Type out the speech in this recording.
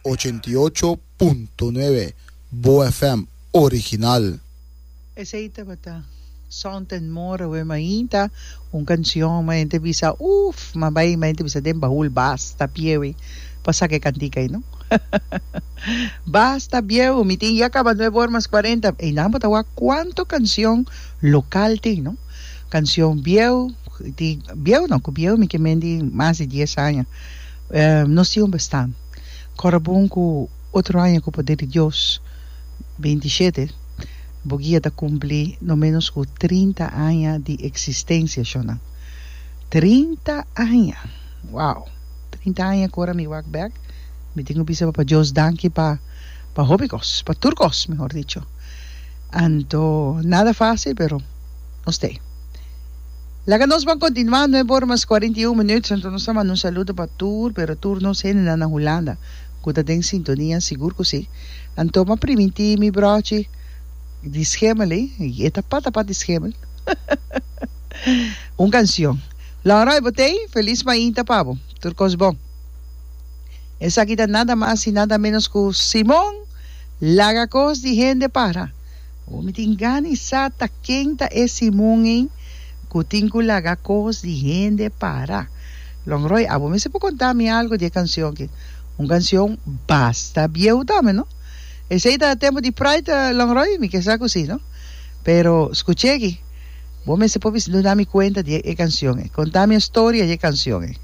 88.9 Bo FM original. Esey tabata Sound and More awe mainta un cancion ma hende bisa uff ma bay ma hende bisa den bahul basta biewi pa saca e cantica ey no basta biew mi tin ya caba nuebe ora mas cuarenta eynan bo ta wak cuanto cancion local tin no cancion biew tin biew no cu biew mi ke mendi mas di dies aña nos tin un bestaan cora bon cu otro aña cu poder di Dios 27, bo guia ta cumpli no menos cu 30 aña di existencia, shonnan. 30 aña! Wow! 30 aña cu ora mi wak bek, mi tin cu bisa Papa Dios danki pa pa hopi cos, pa tur cos, mehor dicho. Anto, nada facil, pero nos t'ey. Laga nos ban continua, nuebe ora mas 41 minuut, anto nos ta manda un saludo pa tur, pero tur nos hendenan na Hulanda cu ta den sintonia, sigur cu si. Anto m'a primintí mi brochi di schemel ei, i e ta pata pat di schemel. Un canción. Laura, bo t'ei? Feliz mainta pa bo. Tur cos bon. Esaki ta nada mas i nada menos cu Simon Laga cos di hende para. Bo mi tin gana i sa ta ken ta e Simon ei cu tin cu laga cos di hende para. Longroy, abo mester por conta mi algo di e cancion aki. Un cancion basta bieu tambe, no? Esey ta tempo di Pride, Longroy? Mi ke sa cu si, no? Pero scuche aki, bo mester por bisa duna mi cuenta di e cancion ey. Conta mi e storia di e cancion ey.